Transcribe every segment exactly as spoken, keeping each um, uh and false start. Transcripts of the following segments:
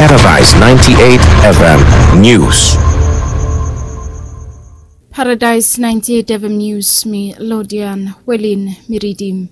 Paradise ninety-eight F M News. Paradise ninety-eight F M News, mi Lodian Welin mi ridim.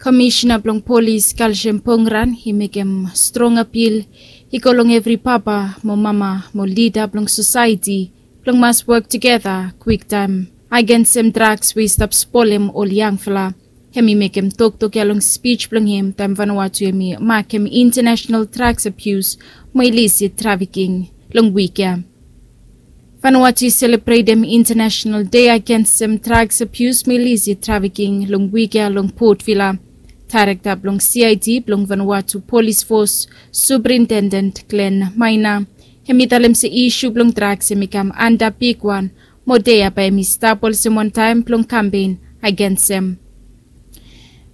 Komishena blong polis Kalshem Pongran i mekem strong apil i go long evri papa mo mama mo lida blong sosaeti blong mas wok tugeta kwiktaem agensem draks we i stap spolem ol yangfala. Hem i mekem toktok ya long spij blong hem taem Vanuatu hem i makem International Drugs Abuse mo Illicit Trafficking long wik ya. Vanuatu i selebretem International Day agensem Drugs Abuse mo Illicit Trafficking long wik ya long Port Vila. Daerekta blong C I D blong Vanuatu Polis Fos, Superintendent Glenn Maina, hem i talem se isu blong draks hem i kam anda bigwan mo dei ya bae hem i stap olsem wantaem blong kampen agensem.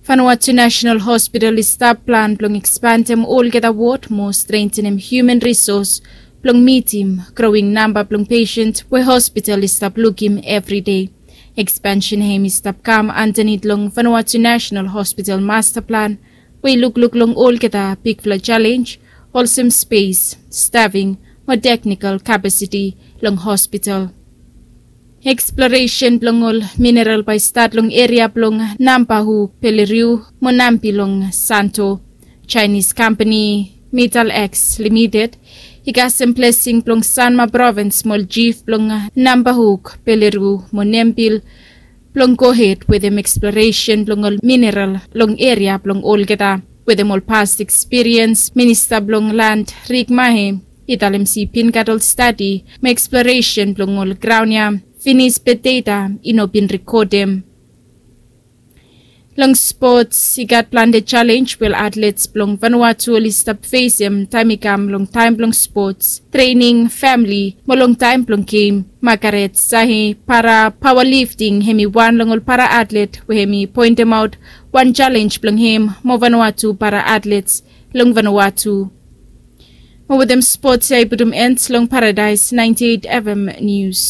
Vanuatu National Hospital i stap plan blong ekspandem olgeta wod mo strentenem hiuman risos blong mitim growing namba blong pesen we hospital i stap lukim evri dei. Ekspansen hem i stap kam andanit long Vanuatu National Hospital Master Plan we i lukluk long olgeta bigfala jalenj olsem spes, stafing mo teknikal kapasiti long hospital. Eksploresen blong ol mineral bae i stat long eria blong Nambahuk, Peleliu mo Nampi long Santo. Jaenis kampani Metal X Limited i kasem blesing blong Sanma provins mo ol jif blong Nambahuk, Peleliu mo Nampi blong gohed wetem eksploresen blong ol mineral long eria blong olgeta. Wetem ol past ekspiriens, minista blong land Rik Mahe i talem se i bin gat ol stadi mo eksploresen blong ol graon ya finis be data i no bin rekodem. Long spots i gat plante jalenj we ol atlets blong Vanuatu oli stap fesem taem i kam long taem blong spots, trening, famili mo long taem blong gem. Magaret Sahi, para paoa lifting, hem i wan long ol para atlet we hem i poentemaot wan jalenj blong hem mo Vanuatu para atlets long Vanuatu. Mo wetem spots ya i putum en long Paradise ninety eight F M Nius.